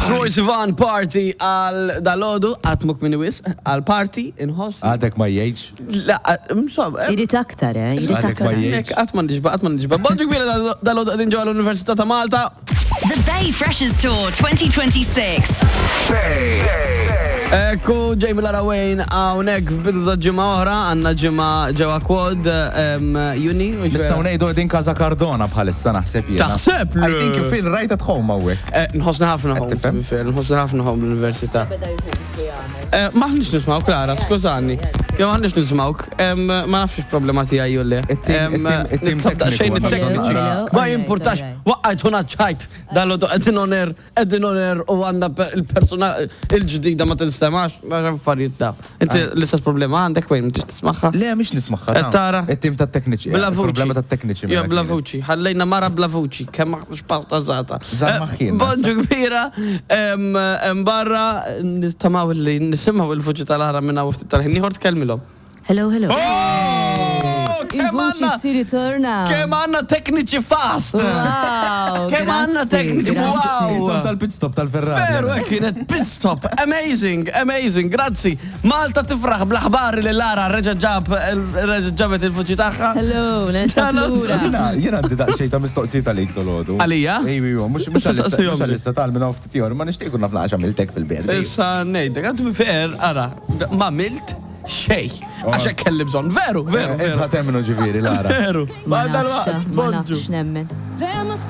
Troye Sivan party għal dalodu, għatmuk minni wis, għal party inħoss. Għadek ma jgħidx. La, insomma. Irid aktar, eh? Irid Għadek ma aktar. jgħidx. Qatt ma nixba, qatt ma nixba. Bonġu kbira dalodu qegħdin ġewwa l-Università ta' Malta. The Bay Freshers Tour 2026. Ekku, Jamie Lara Wayne, hawnhekk f'bidu ta' ġimgħa oħra, għandna ġimgħa ġewwa Quad, Juni. u Nistgħu ngħidu qegħdin Casa Cardona bħalissa naħseb jiena. Taħseb? I think you feel right at home hawnhekk. Nħossna ħafna home, tifhem? to be fair, nħossna ħafna home l-università. Maħniex nismawk, Lara, skużani. Jew maħniex nismawk, ma nafx problema tiegħi jew le. It-tim Nitlob daqsxejn tekniku għandna it-tekniċi. bżonn nara. Ma jimpurtax, waqqajtuna ċajt, dal-għodu qegħdin on air, qegħdin on air u għandna il-persuna il-ġdida ma tinstemax, ma affarijiet ta'. Inti l-istess problema għandek wejn, m'intix tismagħha? Le, mhix nismagħha. Qed tara? It-tim tat-tekniċi. Bla vuċi. Problema tat-tekniċi. Jo, mela bla kienet. vuċi. Ħallejna mara bla vuċi. Kemm aħna xpasta żata. Żar maħħina. Bonġu kbira. Barra nittamaw li nisimgħu il-vuċi tal-ara minn hawn ftit tal-ħin. Ieħor tkellmilhom. Hello, hello. Oh, kemm Il-vuċi għandna si ritorna. kemm għandna tekniċi fast. Wow. Kemm għandna grazzi, tekniċi grazzi. wow. Isom tal-pit stop tal-Ferrari. Veru, hekk kienet pit stop. Amazing, amazing, grazzi. Malta tifraħ bl-aħbar li Lara reġa' ġab reġa' ġabet il-vuċi tagħha. Hello, nerġa' Hello. lura. Jiena għandi daqsxejn ta' mistoqsijiet għalik dolodu. Għalija? Ejju, ejju, mhux Issa saqsihom mhux għalissa tal minn hawn ftit ieħor, ma nixtieq ikun naf naqra x'għamiltek fil-belt. Issa ngħidlek, għandu fair, ara, ma milt xej. Għax hekk kelli bżonn. Veru, veru, Int veru. ħa temmnu ġifieri, Lara. Veru. Ma Ma nafx, dal-waqt, ma bonġu. nafx nemmen. There must